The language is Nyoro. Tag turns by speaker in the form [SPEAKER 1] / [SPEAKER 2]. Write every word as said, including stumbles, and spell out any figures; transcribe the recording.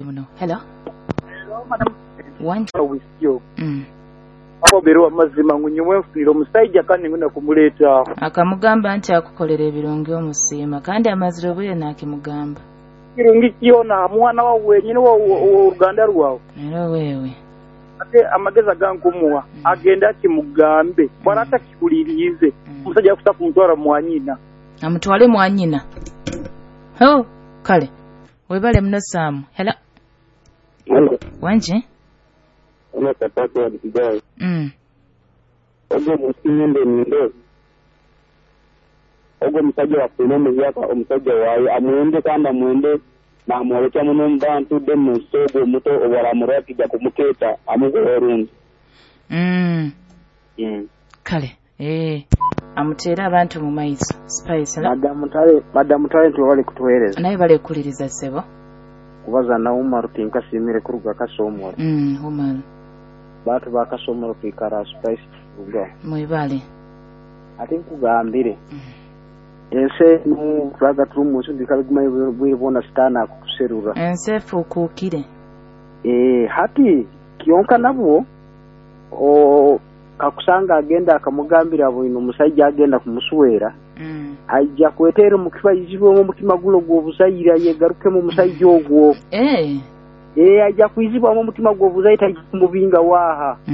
[SPEAKER 1] Muno. Hello. One.
[SPEAKER 2] Wisyo.
[SPEAKER 1] Mm.
[SPEAKER 2] Akoberwa amazima ngu nyowe nfunire omusajja kandi ngenda kumuleeta.
[SPEAKER 1] Akamugamba nti akukolera ebirungi omusiima, kandi amazire obwire nakimugamba.
[SPEAKER 2] Kirungi kyona mwana wawe wenyini w'oruganda rwawe.
[SPEAKER 1] Era wewe.
[SPEAKER 2] Ate amagezi agankumuwa agenda akimugambe bwara atakihuliriize omusajja akusa kumutwara mwanyina.
[SPEAKER 1] Amutwale mwanyina. Ho, kale. Webale muno, Sam. Hello.
[SPEAKER 3] Hello.
[SPEAKER 1] Wanje?
[SPEAKER 3] Ono kapati wa Kigali.
[SPEAKER 1] Mm.
[SPEAKER 3] Ogwo musinyende nindo. Ogwo omusajja wafuna omuyaka omusajja waayo amwende kandi amwende namwolekya muno mu bantu de munsi ogwo omuto obaramurwa kijja kumukeeta amugoba orundi.
[SPEAKER 1] Mm.
[SPEAKER 3] Mm.
[SPEAKER 1] Kale. Eh. Amuteere abantu mu maiso. Spice. Hello.
[SPEAKER 4] Madamu Tale, Madamu Talent, webale kutuweereza.
[SPEAKER 1] Naye bale kukuliriza, ssebo.
[SPEAKER 4] Kubaza na Umaru tinkasimire kuruga Kasomoro.
[SPEAKER 1] Mm, Umaru.
[SPEAKER 4] Bantu ba Kasomoro kwikara Spice turuga.
[SPEAKER 1] Mwebale.
[SPEAKER 4] Ate nkugambire. Ensi enu tulaga turi mu nsi ndikabiguma bwire bwona sitaani akukuserura.
[SPEAKER 1] Ensi efuukuukire.
[SPEAKER 4] Eh, hati kyonka nabwo o kakusanga agenda akamugambira bwino omusajja agenda kumuswera
[SPEAKER 1] Mm.
[SPEAKER 4] ajja kweteera omukifa izibwemu omutima guno gw'obuzaire yegarukemu omusajja ogwo.
[SPEAKER 1] Eh.
[SPEAKER 4] Eh, ajja kwizibwamu omutima gw'obuzaire, tajja kumubinga waaha.